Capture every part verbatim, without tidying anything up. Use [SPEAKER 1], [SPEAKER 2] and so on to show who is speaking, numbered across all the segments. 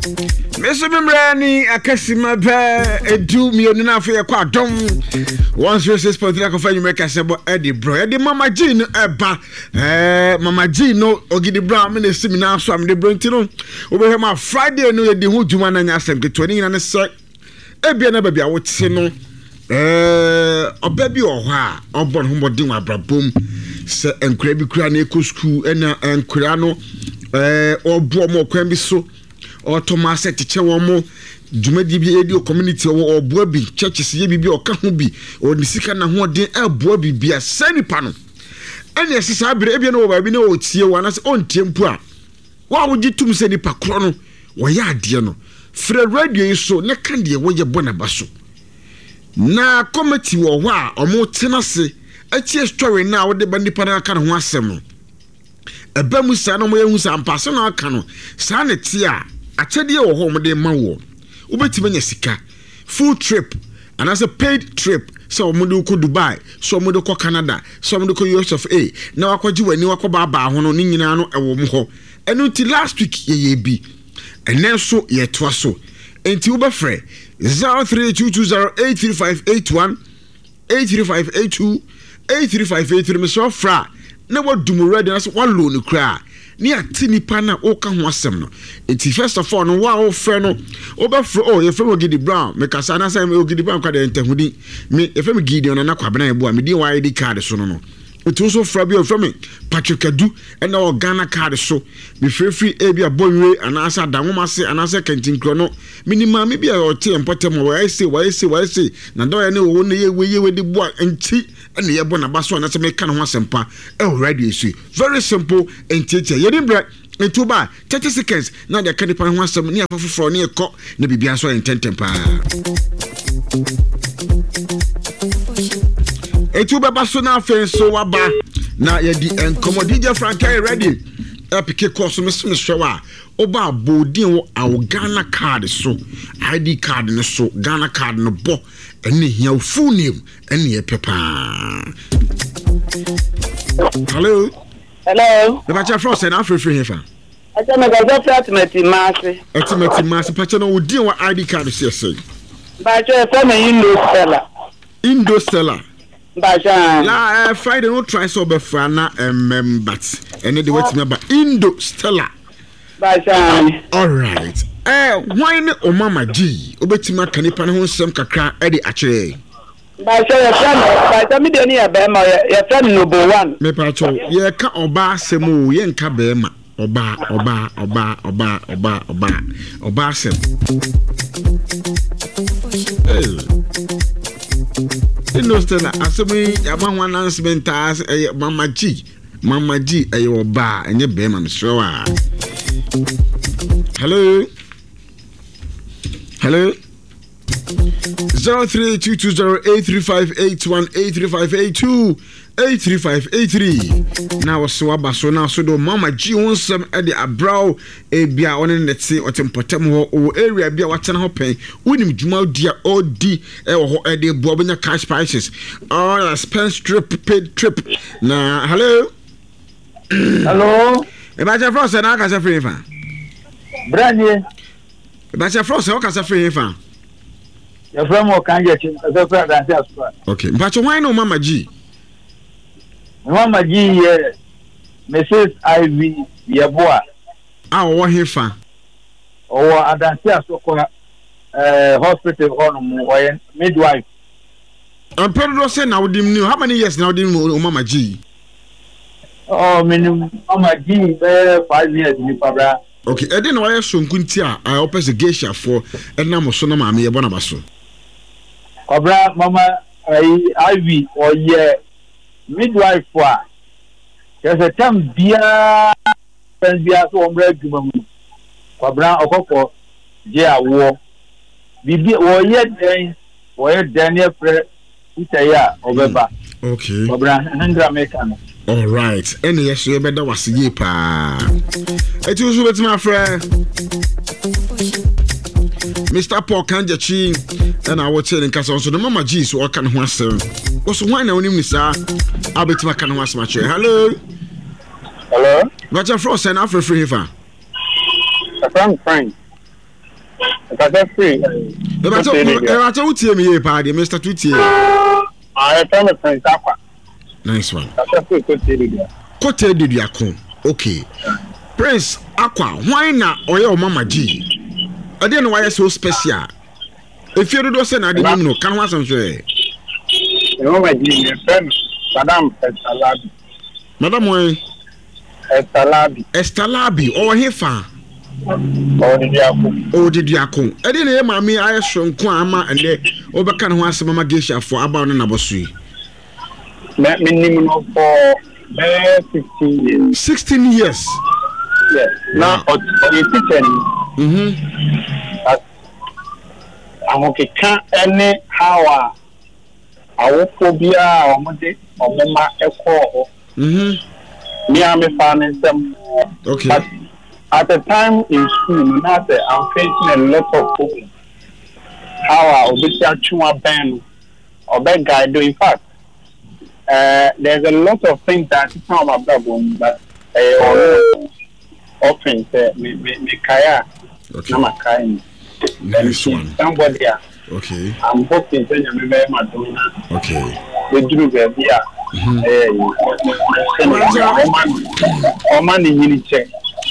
[SPEAKER 1] Me so me mmerɛ ne akasima pɛ edu mmienu no afei yɛkɔ Adom one oh six point three akɔfa nnwuma kasɛ bɔ ɛde brɔ yɛde Mama G no ɛba. ɛɛ Mama G no, Ogidi Brown me na esi mi nan so a mede brɔ, nti no wobɛhwɛ ma Friday no yɛdi ho dwuma na nyɛ asɛm ketewa. Ne nyina ne sɛ ebia na baabi a wote no, ɛɛ ɔbɛ bi wɔ hɔ a ɔbɔ ne ho mmɔden wɔ abrabom sɛ nkwadaa bi kura na ɛkɔ sukuu, ɛna nkwadaa no ɛɛ ɔboɔ ɔmo ɔkwan bi so, ɔtɔ mo asɛ kyekyɛ wɔn mo dwumadie bi edi wɔ community, ɔwɔ ɔboa bi, churches yɛ biribi ɔka ho bi, ɔde sika n'ahoɔden ɛboa biribi a sɛ nipa no ɛna ɛsɛ saa abere ebia no wɔ baabi na ɔtie wɔ anaasɛ ɔntie mpo a, wɔn a wogye tum sɛ nipa korɔ no wɔyɛ adeɛ no, frɛ radio yi so ne ka deɛ wɔyɛ bɔ n'aba so. Na committee wɔ hɔ a wɔn tena ase atie story no a wɔde ba nipa no aka ne ho asɛm no. Ɛbɛ mu saa na wɔn ehu sɛ ampa asɛm na aka no saa ne te a, akyɛdeɛ wɔ hɔ a wɔde ma wɔ. Wobɛtumi anya sika, full trip anaasɛ paid trip, sɛ wɔn de kɔ Dubai, sɛ wɔn de kɔ Canada, sɛ wɔn de kɔ U S of A na wakɔgye w'ani, wakɔ baabaa ho no, ne nyinaa no ɛwɔ mu hɔ. Ɛno nti last week yɛyɛ bi, ɛnɛ nso yɛtoa so. Nti wobɛfrɛ zero three two two zero eight three five eight one, eight three five eight two, eight three five eight three. Mesɛ ɔfrɛ a na wadum ready na sɛ walo no koraa ne ate nipa no a woka ho asɛm no. Nti first of all no, wo a wofrɛ no, wobɛfrɛ o, yɛfrɛ me Ogidi Brown mekasa anaasɛ Ogidi Brown kwa deɛ ntahudi me, yɛfrɛ me Gideon Nana Kwabena Ɛbo a medin wɔ I D card so no no Nti wo nso frɛ bi a, yɛfrɛ me Patrick Adu ɛna wɔ Ghana card so, mefirifiri ebi a Bɔnwire anaasɛ Adanwoma ase anaasɛ Kantinkurɔ no, menim maame bi a ɔte yɛn mpɔtam a wɔayɛ se, wɔayɛ se, wɔayɛ se na dɔyɛ ne wɔwɔ ne yɛ wei yɛ wei de boa nti ɛna yɛbɔ n'aba so anaasɛ meka ne ho asɛmpa ɛwɔ radio so. Very simple, ntiatia yɛni brɛ. Nti woba thirty seconds na de aka nipa no ho asɛm ne afa foforɔ ne ɛkɔ na biribiara nso ayɛ ntɛntɛm paa. Eti wobɛba so na afei nso waba na yɛdi nkɔmmɔ. D J Frank ɛyɛ ready ɛpeke kɔ so. Mesɛ mesrɛ wo a woba abɔɔdin wɔ awo Ghana card so, I D card no so, Ghana card no bɔ ɛne hia wo full name ɛne yɛpɛ paa. Hello.
[SPEAKER 2] Hello.
[SPEAKER 1] Mepakyɛ, frɛ sɛ na afrɛfrɛ he fa?
[SPEAKER 2] Ɛsɛ mekasa firi Atemati Maase.
[SPEAKER 1] Atimati Maase. Pakyɛ, no wodin wɔ I D card so yɛ sɛn?
[SPEAKER 2] Mpakyɛ, yɛfrɛ me Indo Stella.
[SPEAKER 1] Indo Stella.
[SPEAKER 2] Mpakyɛ.
[SPEAKER 1] La uh, Friday no try sɛ ɔbɛfra na mmɛm, but ɛne de watumi aba. Indo Stella.
[SPEAKER 2] Mpakyɛ.
[SPEAKER 1] Alright, eh, hwan ne Omama G? Wobɛtumi aka nipa no ho nsɛm kakra ɛde akyerɛ?
[SPEAKER 2] Mpakyɛ, yɛfrɛ no, mpakyɛ, me deɛ ne yɛ bɛrima, yɛfrɛ no Nobo One.
[SPEAKER 1] Mepakyɛw, yɛka ɔbaa asɛm o, yɛnka bɛrima. Ɔbaa, ɔbaa, ɔbaa, ɔbaa, ɔbaa, ɔbaa, ɔbaa asɛm. Hey. Indo Stella, asɛm yi yɛama ho announcement a ɛyɛ Mama G. Mama G ɛyɛ ɔbaa, ɛnyɛ bɛrima, mesrɛ wo a. Hello, hello. zero three two two zero eight three five eight one, eight three five eight two, eight three five eight three. Na wɔso waba so na so do Mama G ho nsɛm de abraw. Ebia ɔne ne te, ɔte mpɔtam hɔ, ɔwɔ area bi a watena hɔ pɛn, wonim dwuma di a ɔdi ɛwɔ hɔ ɛde boa, wobɛnya cash prizes, all expense trip, paid trip. Na hello.
[SPEAKER 2] Hello.
[SPEAKER 1] Ɛbɛkyɛ, frɛ sɛ na akasa firi fa?
[SPEAKER 2] Branie.
[SPEAKER 1] Ɛbɛkyɛ, frɛ sɛ wokasa firi fa?
[SPEAKER 2] Yɛfrɛ mu Ɔkan Gyakyi, nkasa firi Adanse Asoa.
[SPEAKER 1] Okay, mpakyɛ, hwan ne wo Mama G?
[SPEAKER 2] Mama G yɛ Missus Ivy Yɛboa.
[SPEAKER 1] A ɔwɔ he fa?
[SPEAKER 2] Ɔwɔ Adanse Asokwa ɛɛ hospital hɔ nom, ɔyɛ midwife.
[SPEAKER 1] Mpɛ dodoɔ sɛ na wode ni, how many years na wode mu wo Mama G?
[SPEAKER 2] Ɔ menim Mama G bɛyɛ five years nipa bra.
[SPEAKER 1] Okay, ɛde na wayɛ sonko nti a a wopɛ sɛ geishafoɔ ɛnam so na maame yɛbɔ n'aba so?
[SPEAKER 2] Kɔbra, Mama ayi Ivy ɔyɛ midwife a kyerɛ sɛ tam biara fɛn biara sɛ wɔn brɛ adwuma mu. Kɔbra, ɔkɔkɔ gye awoɔ biribi, wɔyɛ dɛn wɔyɛ dɛn ne yɛfrɛ sisa yi a ɔbɛba.
[SPEAKER 1] Okay
[SPEAKER 2] kɔbra, ndra meka no.
[SPEAKER 1] Alright, ɛne yɛ so yɛbɛda wase yie paa. Ɛti wo so wobɛtumi afrɛ Mister Paul Kangyakyi ɛna wɔkyerɛ ne nkasa nso ne Mama G so ɔka ne ho asɛm. Wo so hwan na wonim ne saa a wobɛtumi aka ne ho asɛm akyerɛ? Hello.
[SPEAKER 2] Hello.
[SPEAKER 1] Bakyɛ, frɛ sɛ na afrɛfrɛ he fa?
[SPEAKER 2] Ɛfrɛ me Frank. Mekasa firi
[SPEAKER 1] Ɛbɛkyɛ wotie me yie paa deɛ, Mister Tutie.
[SPEAKER 2] Ah, yɛfrɛ me Prince Akwa.
[SPEAKER 1] Nice one.
[SPEAKER 2] Kasa firi Kotee Dedua.
[SPEAKER 1] Kotee Deduako, okay. Prince Akwa, hwan na ɔyɛ wo mama G? Ɛdeɛ na wayɛ so special? Efie dodoɔ sɛ na ade nim no, ka ho asɛm so ɛ.
[SPEAKER 2] Me mama G, yɛfrɛ no Madam Esther Labi.
[SPEAKER 1] Madam wɔn?
[SPEAKER 2] Esther Labi.
[SPEAKER 1] Esther Labi, ɔwɔ he fa?
[SPEAKER 2] Ɔwɔ Deduako.
[SPEAKER 1] Ɔwɔ Deduako. Ɛdeɛ na ɛyɛ maame ayɛ soronko a ama ɛnɛ wobɛka ne ho asɛm ama Geishafoɔ aba wo ne nabɔ so yi?
[SPEAKER 2] Me menim no for bɛyɛ sixteen years.
[SPEAKER 1] Sixteen years.
[SPEAKER 2] Yes. Na ɔyɛ teacher ni.
[SPEAKER 1] Mhm.
[SPEAKER 2] But ahokeka ne how a awofoɔ biara a wɔde wɔn mma kɔɔ hɔ.
[SPEAKER 1] Mhm.
[SPEAKER 2] Me a mefaa ne nsam.
[SPEAKER 1] Okay.
[SPEAKER 2] But at the time in school no, na sɛ I'm facing a lot of problems. How a obesi atwe wabɛn no, ɔbɛ guide. In fact, uh, there's a lot of things that asesa wɔn abrabɔ mu, but ɛyɛ ɔno often sɛ me me me kae a
[SPEAKER 1] Okay.
[SPEAKER 2] na ma kae no.
[SPEAKER 1] Nice one.
[SPEAKER 2] Somebody a
[SPEAKER 1] Okay.
[SPEAKER 2] I'm hoping sɛ Nyame bɛyɛ ma dom na
[SPEAKER 1] Okay.
[SPEAKER 2] bɛduru baabi a ɛyɛ yi ɔma no ɔma ne nyini kyɛ.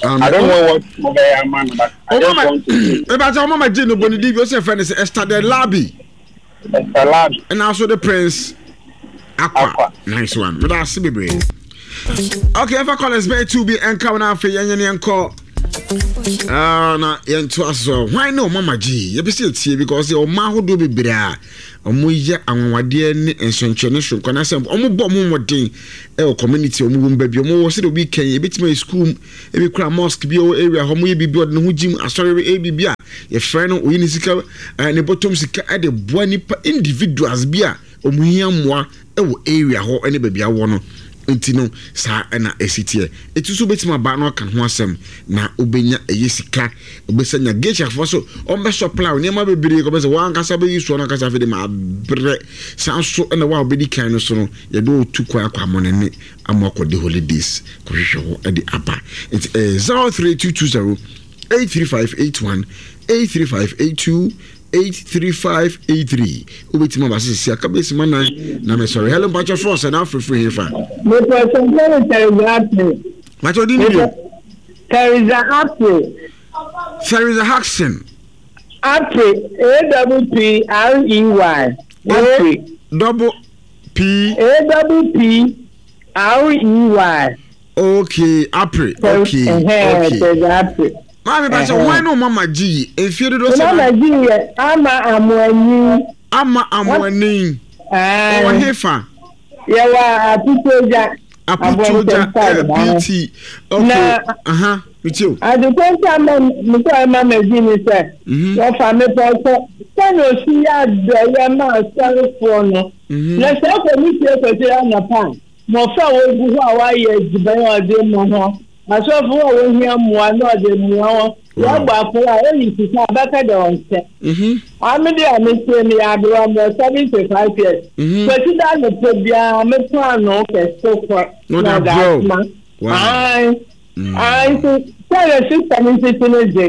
[SPEAKER 1] Um,
[SPEAKER 2] I don't know what mo bɛyɛ ama no, but I just want to say
[SPEAKER 1] Ɛbɛkyɛ ɔmama G no bɔ ne din bi, ɔsɛ fɛ no sɛ Esther de Labi.
[SPEAKER 2] Esther Labi.
[SPEAKER 1] Ɛna nso de Prince Akwa.
[SPEAKER 2] Akwa.
[SPEAKER 1] Nice one. Meda ase bebree. Okay, ɛfa callers bɛyɛ two bi ɛnka wo na afei yɛnyɛ ne yɛnkɔ. Ah, na yɛnto aso. Hwan ne ɔmama G? Yɛpɛ sɛ yɛtie because yɛ ɔma ahodoɔ bebree a ɔmo yɛ anwanwadeɛ ne nsɛnkyerɛnne soronko anaasɛ ɔmo bɔ ɔmo mmɔden ɛwɔ community a ɔmo wɔ mu, baabi a ɔmo wɔ, sɛdeɛ obi kan ebɛtumi ayɛ school mu, ebi kura mosque bi a ɛwɔ area hɔ, ɔmo yɛ biribi, ɔde ne ho gyim asɔre, ɛyɛ biribi a yɛfrɛ no, oyi ne sika, ɛɛ ne bɔtɔm sika ɛde boa nipa individuals bi a ɔmo hia mmoa ɛwɔ area hɔ ɛne baabi awɔ no. Nti no saa ɛna ɛsi teɛ. Ɛti so wobɛtumi aba na ɔka ho asɛm na wobɛnya ɛyɛ sika, wobɛsɛ nya geishafoɔ so ɔmbɛ supply wo nneɛma bebree kɔbɛ sɛ wɔankasa bɛyi soɔ no ankasa. Afei de ma abrɛ saa nso ɛna wo a wobɛdi kan no so no, yɛde wo kwan akɔ amɔnene ama akɔde holidays kɔhwehwɛ hɔ ɛde aba. Nti ɛyɛ zero three two two zero eight three five eight one, eight three five eight two, eight three five eight three. Wobɛtumi aba sɛ sisi aka bɛsi ma nan na mesɔre. Hello, mpakyɛ frɔ sɛ na afrɛfiri he fa?
[SPEAKER 3] Mepɛ sɛ fɛn Teresa Apre.
[SPEAKER 1] Mpakyɛ ɔdi ne bio.
[SPEAKER 3] Teresa Apre.
[SPEAKER 1] Theresa Haxon.
[SPEAKER 3] Apre, A double P R E Y. Apre.
[SPEAKER 1] Double P.
[SPEAKER 3] A double P R E Y.
[SPEAKER 1] Okay, Apre, okay. Okay.
[SPEAKER 3] Teresa Apre.
[SPEAKER 1] Maame, mpakyɛ hwan ne ɔmama G yi? Mfie dodoɔ sɛ?
[SPEAKER 3] Mama G yɛ Ama Amoani.
[SPEAKER 1] Ama Amoani, ɔwɔ he fa?
[SPEAKER 3] Yɛwɔ Aputuogya.
[SPEAKER 1] Aputuogya pt, okay.
[SPEAKER 3] Na
[SPEAKER 1] aha metie o.
[SPEAKER 3] Adekɔnta ma mesɛ mama G ni sɛ wɔfa mepɛ sɛ sɛnea osi yɛ adɔyɛ ma asɔrefoɔ no, na sɛ ɛkɔ ne fie kɔsɛ anɔpa a, mmɔfra a wɔgu hɔ a wɔayɛ adziban a ɔde ma hɔ, asɔfo a wɔhia mmoa na ɔde mmoa hɔ, wɔabɔ afɔre a ɛyi sika a bɛka dɛ ɔnsɛ. Ame de a mesie no yɛ aberewa mɔ seventy five years. Kwasi da anɔpa biara me paano kɛse kɔ
[SPEAKER 1] na
[SPEAKER 3] na ɔde
[SPEAKER 1] abrɛ wo.
[SPEAKER 3] asoma.
[SPEAKER 1] Wow.
[SPEAKER 3] Ae ae, nti sɛdeɛ sister no nsisi no gye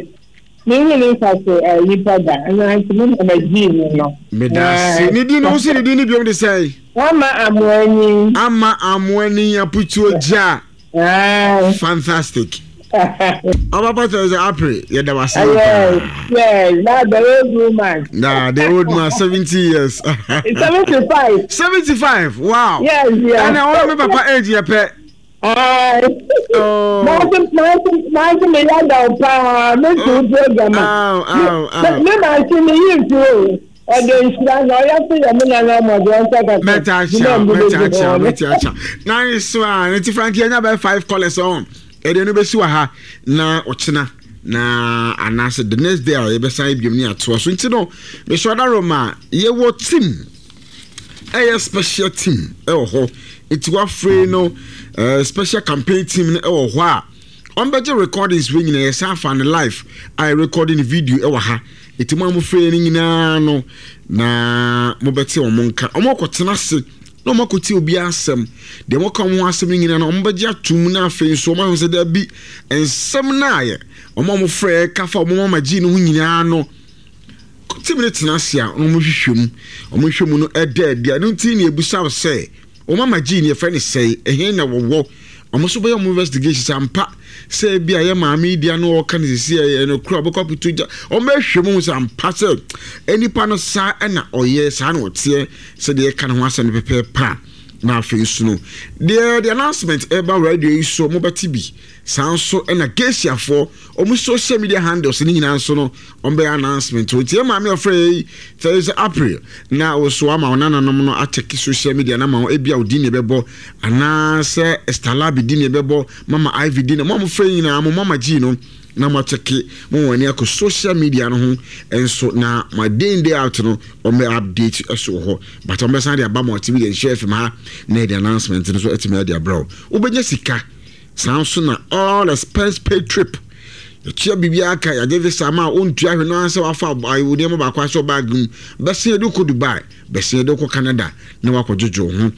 [SPEAKER 3] mehu ne nfa so nipa da ɛna nti me mama gyii no no.
[SPEAKER 1] Meda ase. Ne din no, wo sɛ ne din no biom de sɛe?
[SPEAKER 3] Ama Amoani.
[SPEAKER 1] Ama Amoani, Aputuogya.
[SPEAKER 3] Ae.
[SPEAKER 1] Fantastic. Ɔbapa Theresa Apre, yɛda wase
[SPEAKER 3] Yes,
[SPEAKER 1] paa.
[SPEAKER 3] yes, that's the old woman.
[SPEAKER 1] Nah, the old man, seventy years.
[SPEAKER 3] Seventy-five.
[SPEAKER 1] seventy-five, wow.
[SPEAKER 3] Yes, yes.
[SPEAKER 1] Ɛna ɔno me papa age yɛ pɛ.
[SPEAKER 3] Aye.
[SPEAKER 1] Oh.
[SPEAKER 3] Nanso, nanso, nanso me yada wo paa, me tu program a.
[SPEAKER 1] Aw, aw, aw.
[SPEAKER 3] Me me mansi me yi nfi o. Ɔde nhyira na ɔyɛ so yɛ me nana ɔmɔde ɔnsa kasa.
[SPEAKER 1] Mɛta akyia, mɛta akyia, mɛta akyia. Nice one. Nti Frankie, ɛnya bɛyɛ five callers on. Ɛdeɛ no bɛsi wɔ ha na ɔkyena na anaasɛ the next day a yɛbɛsan biom ne atoa so. Nti no mesɛ ɔda Roma, yɛwɔ team, ɛyɛ special team ɛwɔ hɔ. Nti wafrɛ no uh, special campaign team no ɛwɔ hɔ a ɔmbɛgye recordings wei nyinaa. Yɛsan afa no live a yɛ no video ɛwɔ ha. Nti mo a mofrɛ no nyinaa no na mobɛte ɔmo nka, ɔmo kɔtena ase. Na wɔn akɔtie obiara asɛm deɛ wɔka wɔn ho asɛm no nyinaa no, wɔn bɛgye atum. Na afei nso wɔn ahwɛ sɛ daabi, nsɛm no ayɛ wɔn a wɔfrɛ kafa wɔn mama gyi no ho nyinaa no, team no tena ase a na wɔn hwehwɛ mu. Wɔn hwehwɛ mu no, ɛda adi a no nti na ebusa sɛ wɔn mama gyi no yɛfrɛ no sɛe, ɛhe na wɔwɔ. Wɔn nso bɛyɛ wɔn investigation sɛ ampa sɛ ebi a yɛ maame yi di ano ɔka no sisi ɛyɛ no kura ɔbɛkɔ akoto gya. Wɔn bɛhwɛ mu sɛ ampa sɛ nipa no saa ɛna ɔyɛ saa na ɔteɛ sɛdeɛ ɛka ne ho asɛm no pɛpɛɛpɛ a. Na afei nso no deɛ, the announcement ɛba radio yi so, mo bɛte bi saa nso. Ɛna Gesiafoɔ wɔn social media handles ne nyinaa nso no, wɔn bɛyɛ announcement. Nti yɛ maame ɔfrɛ yi Thursday April na wɔso ama wɔn nananom no akyɛke social media na ma wɔn ebi a odi ne bɛbɔ anaasɛ Stalabi di ne bɛbɔ, Mama Ivy di ne mo a mo frɛ nyinaa, mo mama G no, na mo akyɛke mo wɔn ani akɔ social media no ho nso. Na ma day in, day out no, wɔn bɛ update ɛso wɔ hɔ, but wɔn bɛsan de aba multimedia nhyɛ F M ha na yɛde announcement no so ɛtumi ɛde abrɛw. Wobɛnya sika saa nso na all expense paid trip, yɛtua biribiara ka, yɛagye visa ma a ɔntua hwɛ no ara sɛ wafa awo nneɛma baako ahyɛ bag mu, bɛsɛn yɛde kɔ Dubai, bɛsɛn yɛde kɔ Canada na wakɔdwodwo ho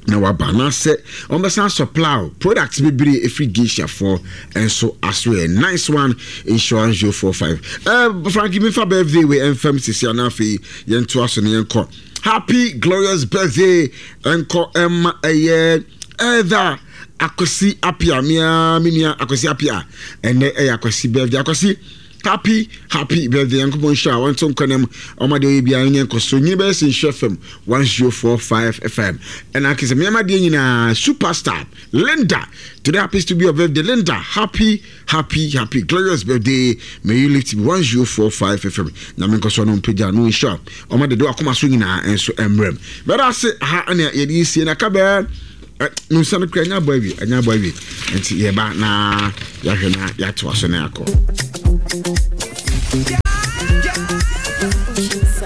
[SPEAKER 1] na waba. Anaasɛ wɔn supply products bebree efiri Gesiafoɔ nso aso. Yɛ nice one insurance zero four five. ɛɛ frankie mifa birthday wei ɛnfam sisi ana afei yɛn to aso ne yɛn kɔ. Happy glorious birthday ɛnkɔ ɛma ɛyɛ ɛɛda Akwasi Apia, mia mi nua Akwasi Apia. Ɛnɛ ɛyɛ Akwasi birthday. Akwasi, happy happy birthday. Yankopɔn nhyira a wɔnto nkwa ɔma deɛ ɔyɛ biara nyɛ nkɔso nyini bɛyɛ sɛ Nhyira F M one zero four five F M. Ɛna akɛ sɛ mmeɛma deɛ nyinaa, superstar Linda, today happens to be your birthday. Linda, happy happy happy glorious birthday. May you live to be one zero four five F M. Na menkɔso no mpagya no nhyira ɔma dede wakoma so nyinaa nso mmerɛm. Bɛda ase ha ɛna yɛde sie na ka bɛɛ no nsa no kura ɛnyɛ abɔ awie, ɛnyɛ abɔ awie, nti yɛba na yɛahwɛ na yɛatoa so na yɛakɔ.